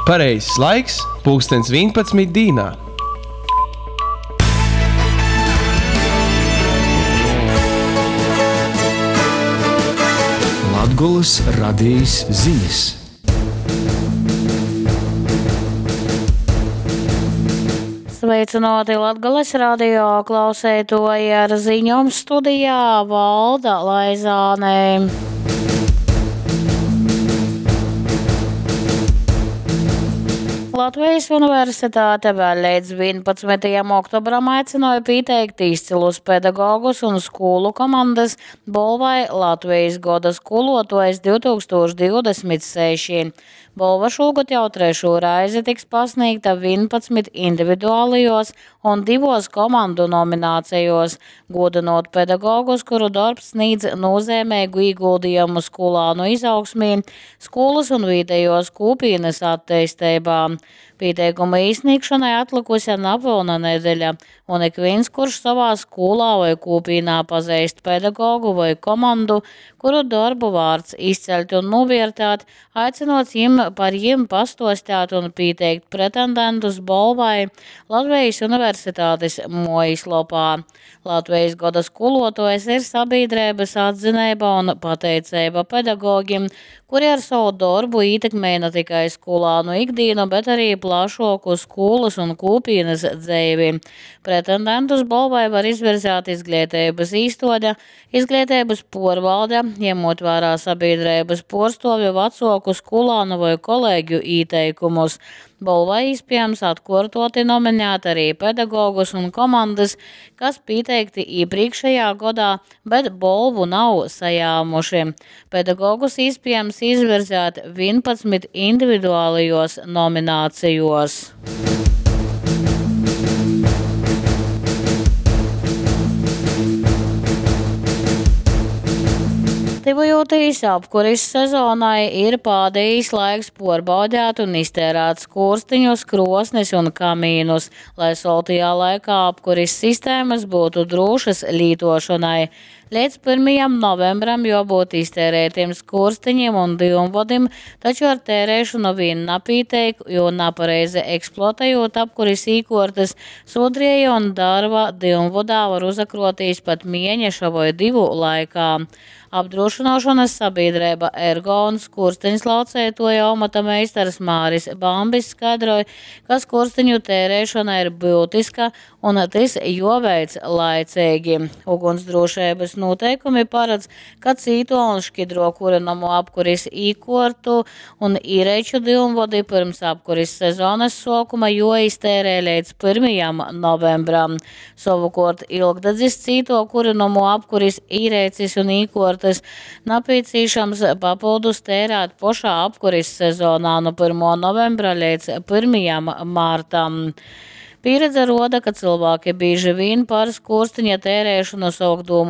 Pareizs laiks – pulkstens 11 dīnā. Latgolys radejis zinis. Sveicināti Latgales radio klauseitoji ar ziņom studijā Valda Laizāne. Latvijas Universitāte vēl līdz 11. oktobram aicināja pieteikt izcilus pedagogus un skolu komandas balvai Latvijas goda skolotājs 2026. Bolva šogad jau trešo reizi tiks pasniegta 11 individuālajos un divos komandu nominācijos, godinot pedagogus, kuru darbs sniedz nozīmīgu ieguldījumu skolānu izaugsmī, skolas un vietējos kopienas attīstībā. Pieteikuma īsniegšanai atlikusi nepilna nedēļa, un ik viens, kurš savā skolā vai kopienā pazīst pedagogu vai komandu, kuru darbu vārds izcelt un novērtēt, aicinots jim par jim pastostāt un pieteikt pretendentus balvai Latvijas Universitātes mājaslapā. Latvijas goda skolotājs ir sabiedrības atzinība un pateicība pedagogiem, kuri ar savu darbu ietekmē ne tikai skolānu ikdienu, bet arī plašāku skolas un kopienas dzīvi. Pretendentus balvai var izvirzīt izglītības īstode, izglītības porvalde, ņemot vērā sabiedrības porstovi, vecāku, skolānu vai kolēģu ieteikumus. Balvai iespējams atkārtoti nominēt arī pedagogus un komandas, kas pieteikti iepriekšējā gadā, bet balvu nav sajāmuši. Pedagogus iespējams izvirzēt 11 individuālajos nominācijos. Tyvojotīs apkuris sezonai ir pādējis laiks porbaudēt un iztērēt skurstiņus, krosnis un kamīnus, lai soltajā laikā apkuris sistēmas būtu drošas lītošanai. Līdz 1. novembram jābūt iztērētiem skurstiņiem un dyumvodim, taču ar tērēšanu vien napīteik, jo napareizi eksploatējot apkuris īkortas, sodrieja un darva dyumvodā var uzakrotīs pat mēneša vai divu laikā. Apdrošināšanas sabiedrība Ergo un skursteņu slaucētoja amata meistars Māris Bambis skaidroja, ka skursteņu tērēšana ir būtiska un tas joveic laicīgi. Ugunsdrošības noteikumi paredz, ka cīto un šķidro kurināmo apkuris īkortu un īreču dyumvodi pirms apkuris sezonas sākuma joiztērē līdz 1. novembram. Savukārt ilgdedzis cīto kurināmo apkuris īrēcis un īkortas nepieciešams papildus tērēt pašā apkuris sezonā no 1. novembra līdz 1. martam. Pieredze roda, ka cilvēki bieži vien par skursteņa tērēšanu sāk domāt